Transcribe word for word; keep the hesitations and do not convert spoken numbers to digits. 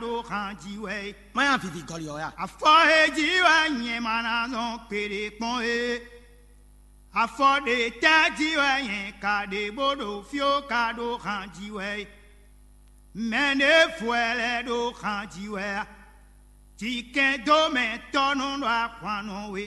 ɖó xan jí wɛ é. Má nyá vivi gɔlí ɔ́ ya. Afɔ e jí wɛ nyɛ ma ná zɔn kpeɖé kpɔn é. Afɔ ɖe tɛ́ jí wɛ nyɛ ka ɖe bó ɖo fí ó ka ɖó xan jí wɛ é. Mɛ ɖěvo wɛ lɛ́ ɖó xan jí wɛ a? Jǐkɛ́n dó mɛ tɔ́ nɔ ɖo ahwan nɔ we.